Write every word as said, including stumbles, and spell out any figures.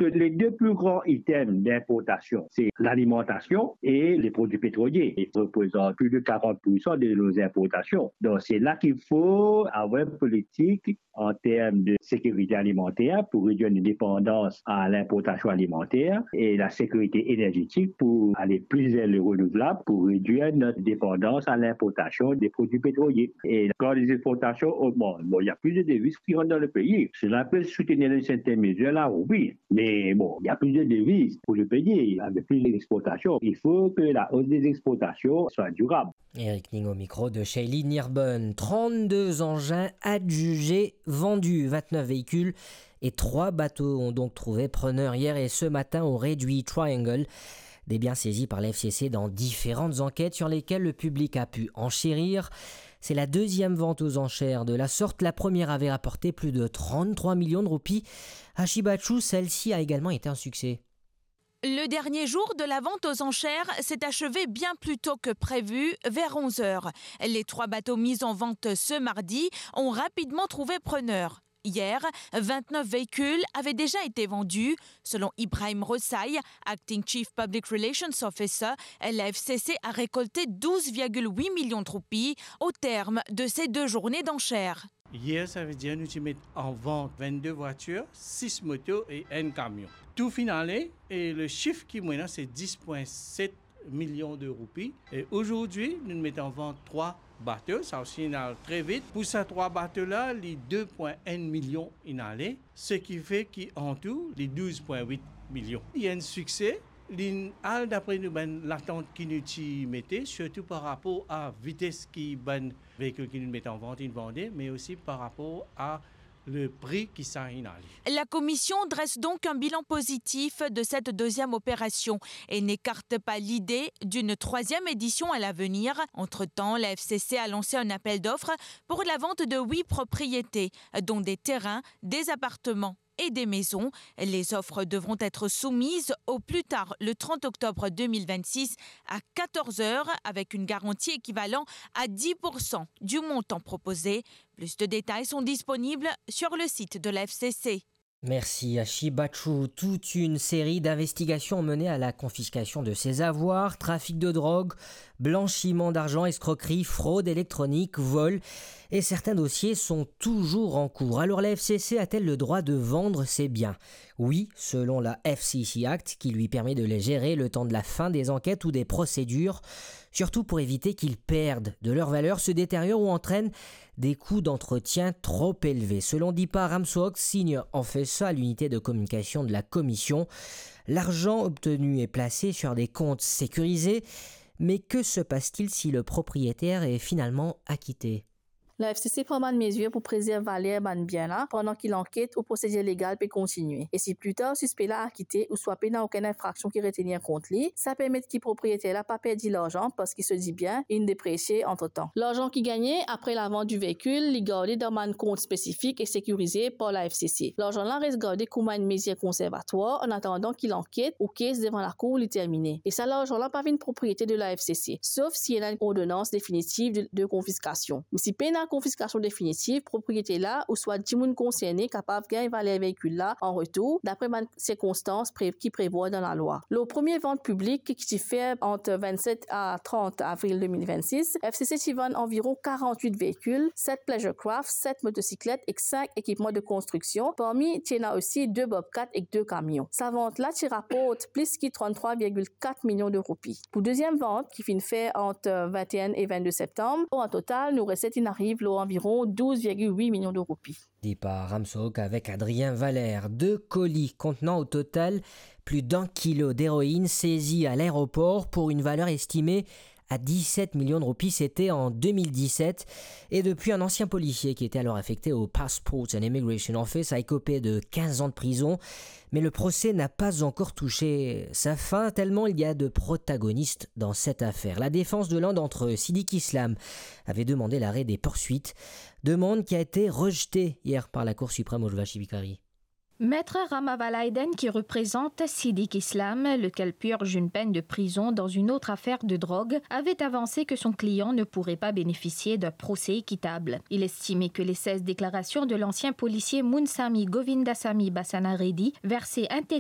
que les deux plus grands items d'importation, c'est l'alimentation et les produits pétroliers. Ils représentent plus de quarante pour cent de nos importations. Donc, c'est là qu'il faut avoir une politique en termes de sécurité alimentaire pour réduire une dépendance à l'importation alimentaire et la sécurité énergétique pour aller plus vers le renouvelable, pour réduire notre dépendance à l'importation des produits pétroliers. Et quand les exportations augmentent, bon, il y a plus de devises qui rentrent dans le pays. Cela peut soutenir une certaine mesure là, oui. Mais bon, il y a plus de devises pour le pays, avec plus d'exportations. Il faut que la hausse des exportations soit durable. Eric Ning au micro de Shaylee Nirben. Trente-deux engins adjugés vendus, vingt-neuf véhicules et trois bateaux ont donc trouvé preneur hier et ce matin au Redwee Triangle. Des biens saisis par la F C C dans différentes enquêtes sur lesquelles le public a pu enchérir. C'est la deuxième vente aux enchères de la sorte. La première avait rapporté plus de trente-trois millions de roupies. Ashi Bachu, celle-ci a également été un succès. Le dernier jour de la vente aux enchères s'est achevé bien plus tôt que prévu, vers onze heures. Les trois bateaux mis en vente ce mardi ont rapidement trouvé preneur. Hier, vingt-neuf véhicules avaient déjà été vendus. Selon Ibrahim Rosai, Acting Chief Public Relations Officer, la F C C a récolté douze virgule huit millions de roupies au terme de ces deux journées d'enchères. Yer, savedir nou ti met an vant vennde vwatir, sis moto e enn kamion. Tou finn ale, e le sif ki mo ena, se dis pwin set milion de roupi. E azordi, nou met an vant trwa bato, sa osi inn al tre vit. Pou sa trwa bato la, li de pwin enn milion inn ale, seki fe ki antou, li douz pwin wit milion. Li enn sikse, linn al dapre nou bann latant ki nou ti mete, sirtou par rapor a vites ki bann veikil ki nou met an vant inn vande, me osi par rapor a le pri ki sa inn ale. La commission dresse donc un bilan positif de cette deuxième opération et n'écarte pas l'idée d'une troisième édition à l'avenir. Entre-temps, la F C C a lancé un appel d'offres pour la vente de huit propriétés, dont des terrains, des appartements et des maisons. Les offres devront être soumises au plus tard le trente octobre deux mille vingt-six à quatorze heures, avec une garantie équivalent à dix pour cent du montant proposé. Plus de détails sont disponibles sur le site de la F C C. Merci Ashi Bachu. Toute une série d'investigations ont mené à la confiscation de ses avoirs, trafic de drogue, blanchiment d'argent, escroquerie, fraude électronique, vol. Et certains dossiers sont toujours en cours. Alors la F C C a-t-elle le droit de vendre ses biens ? Oui, selon la F C C Act, qui lui permet de les gérer le temps de la fin des enquêtes ou des procédures, surtout pour éviter qu'ils perdent de leur valeur, se détériorent ou entraînent des coûts d'entretien trop élevés. Selon Deepa Ramswak, Senior Officer à l'unité de communication de la commission, l'argent obtenu est placé sur des comptes sécurisés. Mais que se passe-t-il si le propriétaire est finalement acquitté ? La F C C pran bann mezir pou prezerv valer bann bien la pandan ki lanket ou prosedir legal pe kontigne. E si pli tar sispe la akite ouswa pena okenn infraksion ki retenir kont li, sa permet ki propriyeter la pa perdi larzan parski so dibien inn depresie antretan. Larzan ki gagne apre lavant di veikil, li garde dan bann kont spesifik e sekirize par la F C C. Larzan la res garde kouma enn mezir konservatwar, an atandan ki lanket ou kes devan lakour li termine. E sa larzan la pa vinn propriete de la F C C, sof si ena enn ordonans definitiv de, de konfiskasion. Me si pena konfiskasion definitiv, propriyeter la ouswa dimoun konserne kapav gagn valer veikil la an retour, dapre bann sirkonstans pre-, ki prevwar dan lalwa. Lor premie vant piblik ki ti fer ant vennset a trant avril de mil vennsis, F C C ti vann anviron karant-wit veikil, set pleasure craft, set motosiklet ek sink ekipman de konstriksion, parmi ti ena osi de Bobcat ek de kamion. Sa vant la ti raport plis ki trant-trwa virgil kat milion de roupi. Pou deziem vant, ki finn fer ant vinte et un e vennde septam, an total, nou reset inn ariv lor anviron douz virgil wit milion de roupi. Deepa Ramswak avec Adrien Valère. Deux colis contenant au total plus d'un kilo d'héroïne saisis à l'aéroport pour une valeur estimée à dix-sept millions de roupies, c'était en deux mille dix-sept. Et depuis, un ancien policier qui était alors affecté au Passports and Immigration Office a écopé de quinze ans de prison. Mais le procès n'a pas encore touché sa fin, tellement il y a de protagonistes dans cette affaire. La défense de l'un d'entre eux, Siddique Islam, avait demandé l'arrêt des poursuites, demande qui a été rejetée hier par la Cour suprême, Urvashi Bikari. Maître Rama Valaiden, qui représente Siddique Islam, lequel purge une peine de prison dans une autre affaire de drogue, avait avancé que son client ne pourrait pas bénéficier d'un procès équitable. Il estimait que les seize déclarations de l'ancien policier Munsami Govindasamy Basana Reddy, versées intégralement